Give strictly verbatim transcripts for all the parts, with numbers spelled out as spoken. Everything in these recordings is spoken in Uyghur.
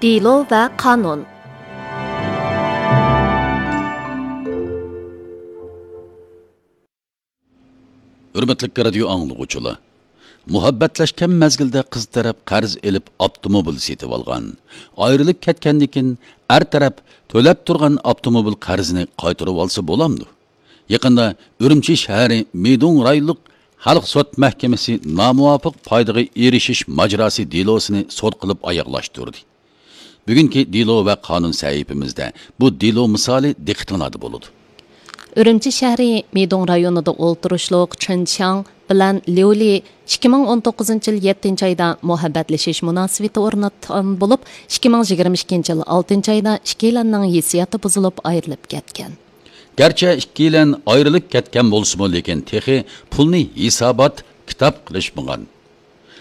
دېلو ۋە قانۇن. ھۆرمەتلىك رادىيو ئاڭلىغۇچىلار، مۇھەببەتلەشكەن مەزگىلدە قىز تەرەپ قەرز ئېلىپ ئاپتوموبىل سېتىۋالغان، ئايرىلىپ كەتكەندىن كېيىن ئەر تەرەپ تۆلەپ تۇرغان ئاپتوموبىل قەرزىنى قايتۇرۇۋالسا بولامدۇ؟ يېقىندا ئۈرۈمچى شەھىرى مىدۇڭ رايونلۇق خەلق سوت مەھكىمىسى نامۇۋاپىق پايدىغا ئېرىشىش ماجىراسى دېلوسىنى سوت قىلىپ ئاياغلاشتۇردى. بۈگۈنكى دېلو ۋە قانۇن سەھىپىمىزدە بۇ دېلو مىسالى دىققىتىڭلاردا بولىدۇ. ئۈرۈمچى شەھىرى مىدۇڭ رايونىدا ئولتۇرۇشلۇق چېن چياڭ بىلەن ليۇ لى ئىككى مىڭ ئون توققۇزىنچى يىل يەتتىنچى ئايدا مۇھەببەتلىشىش مۇناسىۋىتى ئورناتقان بولۇپ، ئىككى مىڭ يىگىرمە ئىككىنچى يىل ئالتىنچى ئايدا ئىككىيلەننىڭ ھېسسىياتى بۇزۇلۇپ ئايرىلىپ كەتكەن. گەرچە ئىككىيلەن ئايرىلىپ كەتكەن بولسىمۇ، لېكىن تېخى پۇلنى ھېسابات، كىتاب قىلىشمىغان.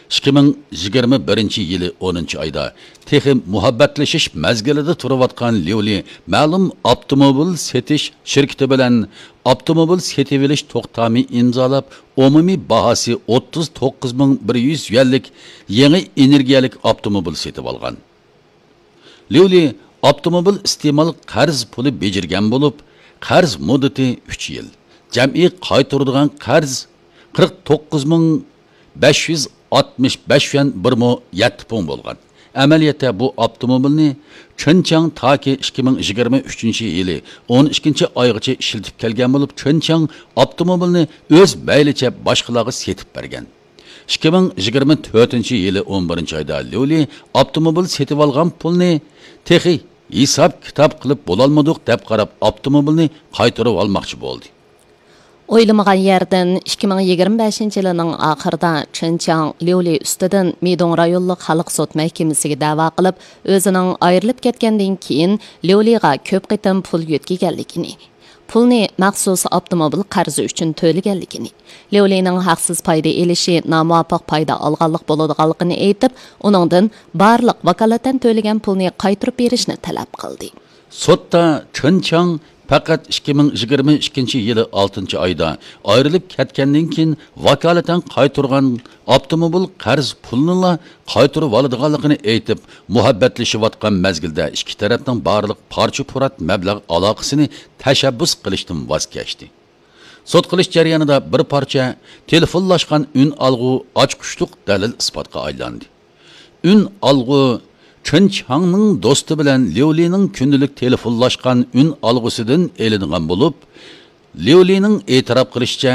ئىككى مىڭ يىگىرمە بىرىنچى يىلى ئونىنچى ئايدا تېخى مۇھەببەتلىشىش مەزگىلىدە تۇرۇۋاتقان ليۇلى مەلۇم ئاپتوموبىل سېتىش شىركىتى بىلەن ئاپتوموبىل سېتىۋېلىش توختامى ئىمزالاپ، ئومۇمىي باھاسى ئوتتۇز توققۇز مىڭ بىر يۈز يۈەنلىك يېڭى ئېنېرگىيەلىك ئاپتوموبىل سېتىۋالغان. ليۇلى ئاپتوموبىل ئىستېمال قەرز پۇلى بېجىرگەن بولۇپ، قەرز مۇددىتى ئۈچ يىل. جەمئىي قايتۇرىدىغان قەرز قىرىق توققۇز مىڭ بەش يۈز ئاتمىش بەش يۈەن بىر مو يەتتە پۇڭ بولغان. ئەمەلىيەتتە بۇ ئاپتوموبىلنى چېن چياڭ تاكى ئىككى مىڭ يىگىرمە ئۈچىنچى يىلى ئون ئىككىنچى ئايغىچە ئىشلىتىپ كەلگەن بولۇپ، چېن چياڭ ئاپتوموبىلنى ئۆز مەيلىچە باشقىلارغا سېتىپ بەرگەن. ئىككى مىڭ يىگىرمە تۆتىنچى يىلى ئون بىرىنچى ئايدا ليۇلى ئاپتوموبىل سېتىۋالغان پۇلنى تېخى ھېساب-كىتاب قىلىپ بولالمىدۇق دەپ قاراپ، ئاپتوموبىلنى قايتۇرۇۋالماقچى بولدى. ئويلىمىغان يەردىن ئىككى مىڭ يىگىرمە بەشىنچى يىلىنىڭ ئاخىرىدا چېن چياڭ ليۇلى ئۈستىدىن مىدۇڭ رايونلۇق خەلق سوت مەھكىمىسىگە دەۋا قىلىپ، ئۆزىنىڭ ئايرىلىپ كەتكەندىن كېيىن ليۇلىغا كۆپ قېتىم پۇل يۆتكىگەنلىكىنى، پۇلنى مەخسۇس ئاپتوموبىل قەرزى ئۈچۈن تۆلىگەنلىكىنى، ليۇلىنىڭ ھەقسىز پايدا ئېلىشى نامۇۋاپىق پايدا ئالغانلىق بولىدىغانلىقىنى ئېيتىپ، ئۇنىڭدىن بارلىق ۋاكالىتەن تۆلىگەن پۇلنى قايتۇرۇپ بېرىشنى تەلەپ قىلدى. سوتتا چېن چياڭ پەقەت ئىككى مىڭ يىگىرمە ئىككىنچى يىلى ئالتىنچى ئايدا ئايرىلىپ كەتكەندىن كېيىن ۋاكالىتەن قايتۇرغان ئاپتوموبىل قەرز پۇلىنىلا قايتۇرۇۋالىدىغانلىقىنى ئېيتىپ، مۇھەببەتلىشىۋاتقان مەزگىلدە ئىككى تەرەپنىڭ بارلىق پارچە-پۇرات مەبلەغ ئالاقىسىنى تەشەببۇس قىلىشتىن ۋاز كەچتى. سوت قىلىش جەريانىدا بىر پارچە تېلېفونلاشقان ئۈنئالغۇ ئاچقۇچلۇق دەلىل-ئىسپاتقا ئايلاندى. ئۈنئالغۇ چېن چياڭنىڭ دوستى بىلەن ليۇلىنىڭ كۈندىلىك تېلېفونلاشقان ئۈنئالغۇسىدىن ئېلىنغان بولۇپ، ليۇلىنىڭ ئېتىراپ قىلىشىچە،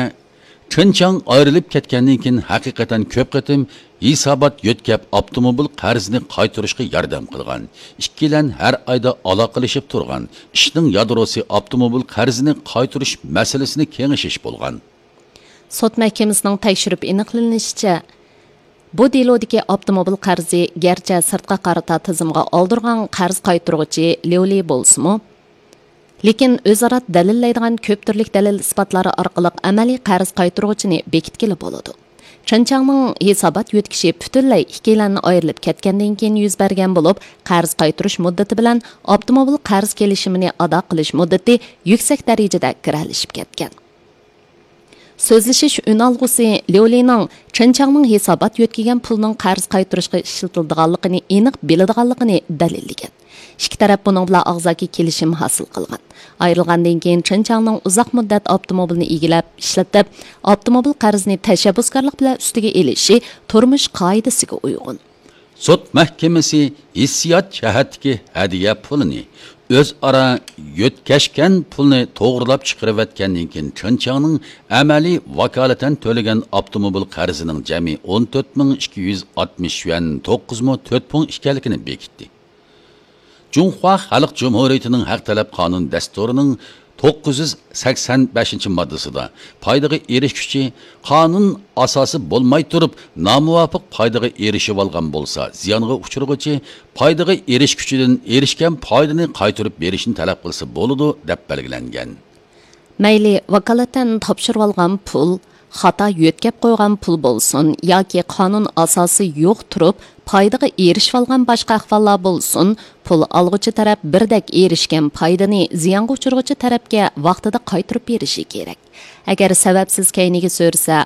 چېن چياڭ ئايرىلىپ كەتكەندىن كېيىن ھەقىقەتەن كۆپ قېتىم ھېسابات يۆتكەپ، ئاپتوموبىل قەرزىنى قايتۇرۇشقا ياردەم قىلغان. ئىككىيلەن ھەر ئايدا ئالاقىلىشىپ تۇرغان. ئىشنىڭ يادروسى ئاپتوموبىل قەرزىنى قايتۇرۇش مەسىلىسىنى كېڭىشىش بولغان. سوت مەھكىمىسىنىڭ تەكشۈرۈپ ئېنىقلىنىشىچە، بۇ دېلودىكى ئاپتوموبىل قەرزى گەرچە سىرتقا قارىتا تىزىمغا ئالدۇرغان قەرز قايتۇرغۇچى ليۇلى بولسىمۇ، لېكىن ئۆزئارا دەلىللەيدىغان كۆپ تۈرلۈك دەلىل-ئىسپاتلار ئارقىلىق ئەمەلىي قەرز قايتۇرغۇچىنى بېكىتكىلى بولىدۇ. چېن چياڭنىڭ ھېسابات يۆتكىشى پۈتۈنلەي ئىككىيلەننى ئايرىلىپ كەتكەندىن كېيىن يۈز بەرگەن بولۇپ، قەرز قايتۇرۇش مۇددىتى بىلەن ئاپتوموبىل قەرز كېلىشىمىنى ئادا قىلىش مۇددىتى يۈكسەك دەرىجىدە گىرەلىشىپ كەتكەن. سۆزلىشىش ئۈنئالغۇسى ليۇلىنىڭ چېن چياڭنىڭ ھېسابات يۆتكىگەن پۇلىنىڭ قەرز قايتۇرۇشقا ئىشلىتىلىدىغانلىقىنى ئېنىق بىلىدىغانلىقىنى دەلىللىگەن. ئىككى تەرەپ بۇنىڭ بىلەن ئاغزاكى كېلىشىم ھاسىل قىلغان. ئايرىلغاندىن كېيىن چېن چياڭنىڭ ئۇزاق مۇددەت ئاپتوموبىلنى ئىگىلەپ ئىشلىتىپ، ئاپتوموبىل قەرزىنى تەشەببۇسكارلىق بىلەن ئۈستىگە ئېلىشى تۇرمۇش قائىدىسىگە ئۇيغۇن. سوت مەھكىمىسى ھېسسىيات جەھەتتىكى ھەدىيە پۇلىنى، ئۆزئارا يۆتكەشكەن پۇلنى توغرىلاپ چىقىرىۋەتكەندىن كېيىن، چېن چياڭنىڭ ئەمەلىي ۋاكالىتەن تۆلىگەن ئاپتوموبىل قەرزىنىڭ جەمئىي ئون تۆت مىڭ ئىككى يۈز ئاتمىش يۈەن توققۇز مو تۆت پۇڭ ئىكەنلىكىنى بېكىتتى. جۇڭخۇا خەلق جۇمھۇرىيىتىنىڭ ھەق تەلەپ قانۇن دەستۇرىنىڭ توققۇز يۈز سەكسەن بەشىنچى ماددىسىدا، پايدىغا ئېرىشكۈچى قانۇن ئاساسى بولماي تۇرۇپ نامۇۋاپىق پايدىغا ئېرىشىۋالغان بولسا، زىيانغا ئۇچرىغۇچى پايدىغا ئېرىشكۈچىدىن ئېرىشكەن پايدىنى قايتۇرۇپ بېرىشنى تەلەپ قىلسا بولىدۇ، دەپ بەلگىلەنگەن. مەيلى ۋاكالىتەن تاپشۇرۇۋالغان پۇل، خاتا يۆتكەپ قويغان پۇل بولسۇن ياكى قانۇن ئاساسى يوق تۇرۇپ پايدىغا ئېرىشىۋالغان باشقا ئەھۋاللار بولسۇن، پۇل ئالغۇچى تەرەپ بىردەك ئېرىشكەن پايدىنى زىيانغا ئۇچرىغۇچى تەرەپكە ۋاقتىدا قايتۇرۇپ بېرىشى كېرەك. ئەگەر سەۋەبسىز كەينىگە سۈرسە،